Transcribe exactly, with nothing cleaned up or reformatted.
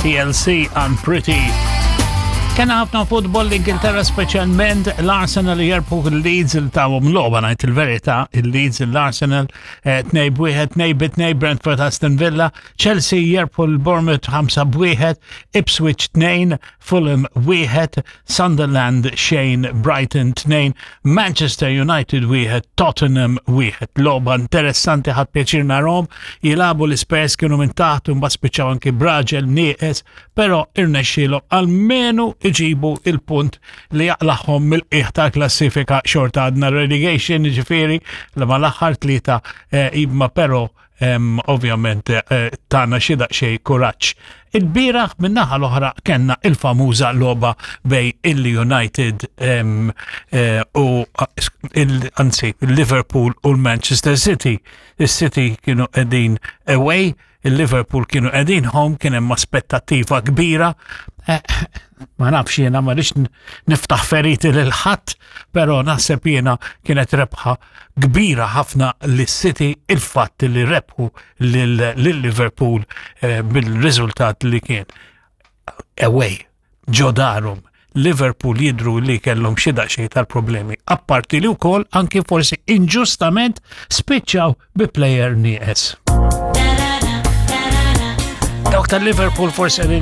T L C, Unpretty. Kena ħafna futbol l-Ingilterra, speċjalment l-Arsenal jerbħu l-Leeds, il-tawhom logħba, ngħid il-verità, il-Leeds l-Arsenal eh, tnejn b'wieħed, tnejn bi tnejn Brentford Aston Villa, Chelsea jerbħu l-Bournemouth ħamsa b'wieħed, Ipswich tnejn, Fulham wieħed, Sunderland xejn, Brighton tnejn, Manchester United wieħed, Tottenham wieħed. Logħba interessanti, ħadt pjaċir narahom jilagħbu l-Spurs, kienu minn taħt u mbagħad spiċċaw anki b'raġel nieqes, però irnexxielhom almenu iġibu il-punt li jaqlagħhom mill-qiegħ tal-klassifika. Xorta għadna relegation, ġifieri li ma l-aħħar tlieta eh, imma però em, ovvjament eh, tana xi daqsxejn kuraġġ. Il-bieraħ min-naħa l-oħra kellna il-famuża logħba bejn il-United em, eh, u il- anzi il-Liverpool u l-Manchester City. Il-City kienu qegħdin away, il-Liverpool kienu qegħdin home, kien hemm aspettattiva kbira. Eh, ma nafx jiena, ma rridx niftaħ feriti lil ħadd, però naħseb jiena kienet rebħa kbira ħafna lis-City, il-fatt li rebħu lil Liverpool eh, bil-riżultat li kien away ġo darhom. Liverpool jidru li kellhom xi daqsxejn tal-problemi. Apparti li wkoll anki forsi inġustament spiċċaw bi player nieqes. Dawk tal-Liverpool forsi qegħdin